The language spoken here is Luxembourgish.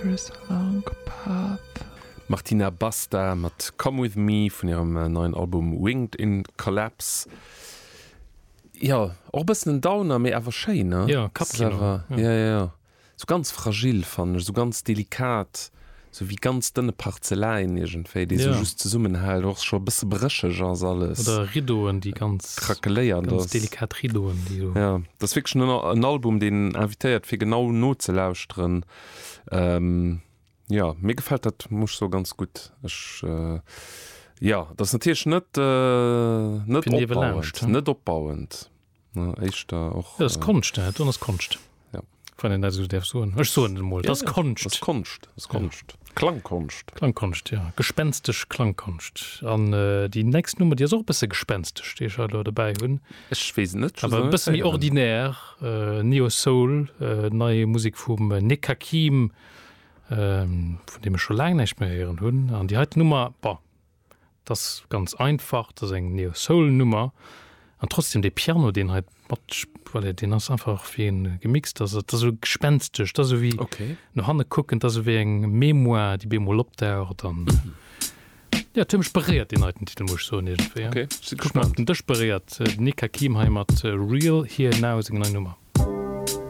There is a long path. Martina Basta mat Come With Me vun hirem neien Album Winged in Collapse. Jo, och e bëssen en Downer, mee awer schéin, ne? Jo, Kappkino. Jo, jo, jo. Sou ganz fragil fannen ech, sou ganz delikat, sou wéi ganz dënne Parzeläin iergendwéi, déi sou just zesummenhält, och scho e bësse brécheg ass alles. Oder Rideauen, déi ganz, krakeléiert ganz ass. Delikat Rideauen, déi sou. Jo, dat ass wierklech en, en Album, deen invitéiert fir genau nozelauschteren. Jo, mir gefält dat, muss ech soen, ganz gutt. Ech, jo, dat ass natierlech net, net opbauend, net opbauend. Ne, éischter och. Dat ass Konscht, dat ass Konscht. Ja. Wann een dat esou däerf soen. Ech soen et emol, dat ass Konscht. Dat ass Konscht, dat ass Konscht. Klangkonscht. Klangkonscht, ja. Gespenstesch Klangkonscht. An déi nächst Nummer, déi ass och e bësse gespenstesch, déi ech hei elo dobäi hunn. Ech weess et net. Awer e bësse méi ordinär. Neo Soul, nei Musek vum Nekakim, vun deem ech scho laang näischt méi héieren hunn. An déi heiten Nummer, bon, 't ass ganz einfach, 't ass eng Neo-Soul-Nummer an trotzdem dee Piano deen hei mat, voilà, deen ass einfach wéi en gemixt ass, et ass esou gespenstesch, 't ass esou wéi no hanne kucken, 't ass esou wéi eng Mémoire déi bemol opdaucht an jo, et huet mech beréiert deen heiten Titel muss ech soen iergendwéi. Ok, si gespannt. Huet mech op den Dësch beréiert, den Nick Hakim hei mat Real Here Now seng nei Nummer.